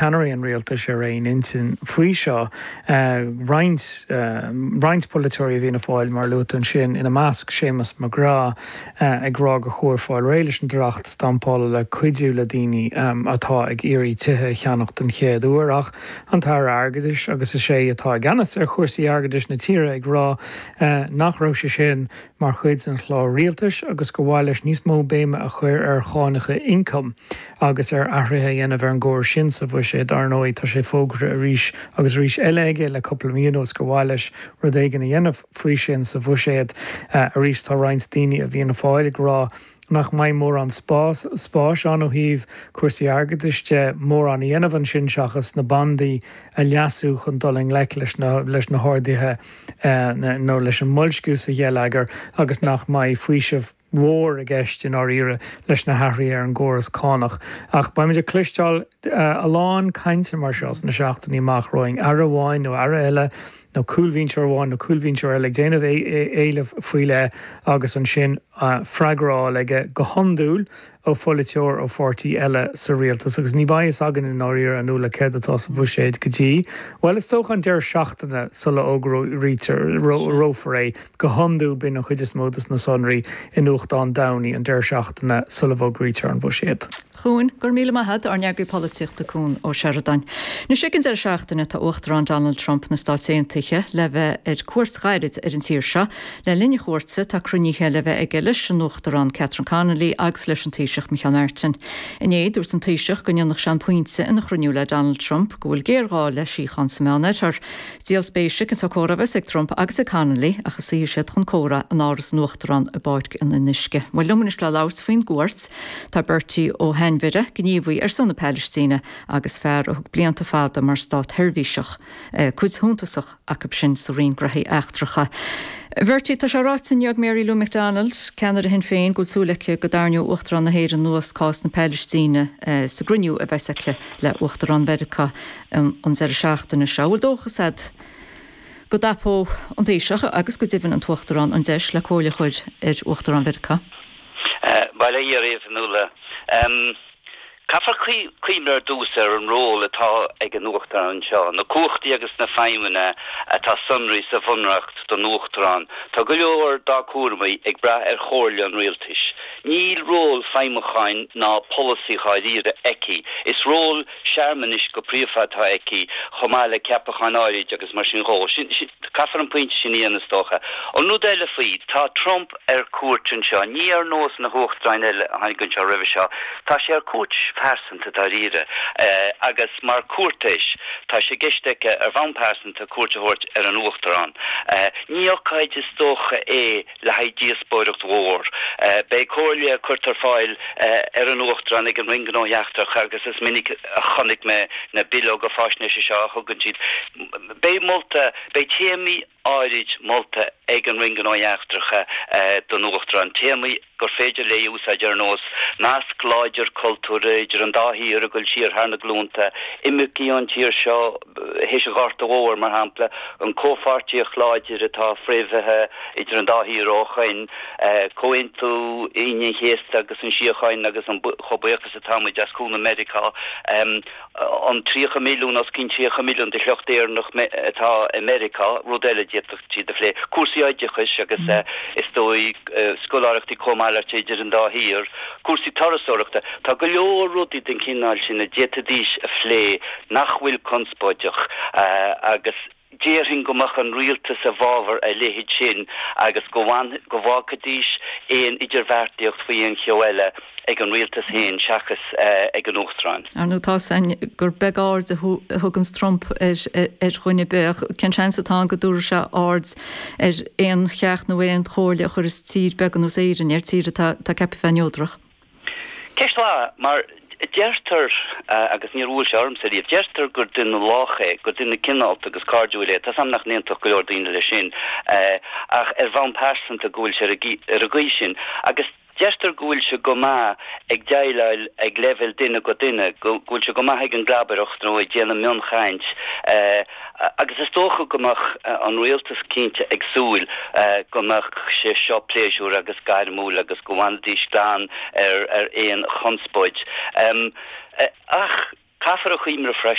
Ceannairí an rialtais ar aon intinn faoi seo. Roinnt roinnt polaiteoirí i bhFianna Fáil, mar a luaigh tú ansin, ina measc Séamus McGrath, ag rá gur chóir fáil réidh leis an dleacht stampála le cuidiú le daoine atá ag iarraidh tithe a cheannach den chéad uair. Ach an tAire Airgeadais, agus is é atá i gceannas ar chúrsaí airgeadais na tíre, ag rá nach raibh sé sin mar chuid den chlár rialtais agus gur mhaith leis níos mó béime a chur ar chánacha ioncaim agus ar athruithe a dhéanamh ar an gcóras sin sa bhuiséad. Ar ndóigh, tá sé fógartha arís agus arís eile aige le cúpla mí anuas gur mhaith leis rud éigin a dhéanamh faoi sin sa bhuiséad. Arís, tá roinnt daoine i bhFianna Fáil ag rá nach mbeidh mórán spás spáis ann ó thaobh cúrsaí airgeadais de, mórán a dhéanamh ansin seachas na bandaí a leasú chun dul i ngleic leis na leis na harduithe nó leis an mboilsciú sa gheilleagar agus nach mbeidh faoiseamh mhór i gceist i ndáiríre leis na hathruithe ar an gcóras cánach. Ach beimid ag cloisteáil a lán cainte mar seo sna seachtainí amach romhainn, Aire amháin nó Aire eile nó cúlbhinseoir amháin nó cúlbhinseoir eile ag déanamh éileamh faoi leith agus ansin freagra á fháil aige, go hiondúil, ó pholaiteoir ó pháirtí eile sa rialtas. Agus ní bheidh fhios againn i ndáiríre, a Nuala, céard atá sa bhuiséad go dtí, bhuel, is dócha an deireadh seachtaine sula bhfógrófar é. Go hiondúil bíonn an chuid is mó de na sonraí i nuachtán Domhnaigh an deireadh seachtaine sula bhfógraítear an buiséad. Chuan, Go raibh míle maith agat, ár n-eagraí polaitíochta Cuan Ó Seireadáin. Anois ag an deireadh seachtaine tá Uachtarán Donald Trump na Stáit Aontaithe le bheith ar cuairt ghairid ar an tír seo. Le linn a chuairte tá cruinnithe le bheith aige leis an Uachtarán Catherine Connolly agus leis an Taoiseach Micheál Martin. Inné dúirt an Taoiseach go ndéanfadh sé an pointe ina chruinniú le Donald Trump go bhfuil géarghá le síocháin sa Meánoirthear. Is díol spéise cén sórt comhrá a bheas ag Trump agus ag Connolly ach a suífidh siad chun comhrá in Áras an Uachtaráin i bPáirc an Fhionnuisce. Bhuel, liom anois le labhairt faoin gcuairt, tá Bertie Ó hAinmhire, gníomhaí ar son na Palaistíne agus fear a thug blianta fada mar státsheirbhíseach, cuid shuntasach acu sin sa Roinn Graithí Eachtracha. A Bhertie, tá sé ráite inniu ag Mary Lou McDonald, ceannaire Shinn Féin, go bhfuil súil aici go dtarraingeoidh Uachtarán na hÉireann anuas cás na Palaistíne sa gcruinniú a bheas aici le Uachtarán Mheiriceá an deireadh seachtaine seo. An bhfuil dóchas agat go dtapódh an Taoiseach agus go deimhin an tUachtarán an deis le comhairle a chur ar Uachtarán Mheiriceá? Bail ó Dhia oraibh, a Nuala. Caithfear cuimhneamh ar dtús ar an ról atá ag an Uachtarán anseo, na cumhachtaí agus na feidhmeanna atá sonraithe sa Bhunreacht don Uachtarán. Tá go leor dá cúramaí ag brath ar chomhairle an rialtais. Níl ról feidhmiúcháin ná polasaí dháiríre aici. Is ról searmanais go príomha atá aici, chomh maith le ceapacháin áirid agus mar sin dhó. Sin, caithfear an pointe sin a dhéanamh is dócha. An rud eile faoi, tá Trump ar cuairt anseo, ní ar nós na huachtaráin eile a tháinig anseo roimhe seo, tá sé ar cuairt phearsanta dáiríre agus mar chúirtéis, tá sé i gceist aige ar bhonn pearsanta cuairt a thabhairt ar an Uachtarán. Ní ocáid is dócha é le haghaidh díospóireacht mhór. Beidh comhairle curtha ar fáil ar an Uachtarán ag an Roinn Gnóthaí Eachtracha agus is minic a chonaic mé na bileoga faisnéise seo a thugann siad. Beidh molta, beidh téamaí áirid molta ag an Roinn Gnóthaí Eachtracha don Uachtarán, téamaí gur féidir léi a úsáid ar nós nasc láidir cultúrtha idir an dá thír ag dul siar thar na glúnta, imircigh ón tír seo théis an Ghorta Mhóir, mar shampla, an comhpháirtíocht láidir atá fréamhaithe idir an dá thír ó shoin, Comhaontú Aoine an Chéasta agus an síocháin agus an chomh buíoch is atá muid as cúnamh Meiriceá, an 30 milliún, os cionn 30 milliún de shliocht Éireannach atá i Meiriceá, rud eile a d'fhéadfadh siad a phlé. Cúrsaí oideachais agus is dóigh scoláireachtaí cómhalartaithe idir an dá thír, cúrsaí turasóireachta. Tá go leor rudaí den chineál sin a d'fhéadfaidís a phlé nach bhfuil conspóideach agus déarfainn go mbeadh an rialtas i bhfabhar a leithéid sin agus go go bhfágfaidís aon idirbheartaíocht faoi aon cheo eile ag an rialtas féin seachas ag an Uachtarán. Ar ndóigh, tá 's againn gur beag aird a thuganns Trump ar dhuine ar bith. Cén seans atá ann go dtabharfaidh sé aird ar aon cheacht nó aon chomhairle a chuirfeas tír beag ar nós Éirinn air, tír atá ceaptha bheith neodrach? Ceist mhaith, mar deirtear, agus níor bhuail sé ormsa riamh, deirtear gur duine lách é, gur duine cineálta agus cairdiúil é. Tá 's a'm nach n-aontódh go leor daoine leis sin, ach ar bhonn pearsanta go bhfuil sé ar an gcaoi sin. Agus deirtear go bhfuil sé go maith ag déileáil ag leibhéal duine go duine, go bhfuil sé go maith ag an gclabaireacht nó ag déanamh mionchaint. Agus is dócha go mbeadh an rialtas cinnte ag súil go mbeadh sé seo pléisiúrtha agus gairmiúil agus go bhfanfaidís glan ar aon chonspóid. Ach. Caithfear a chuimhneamh freisin.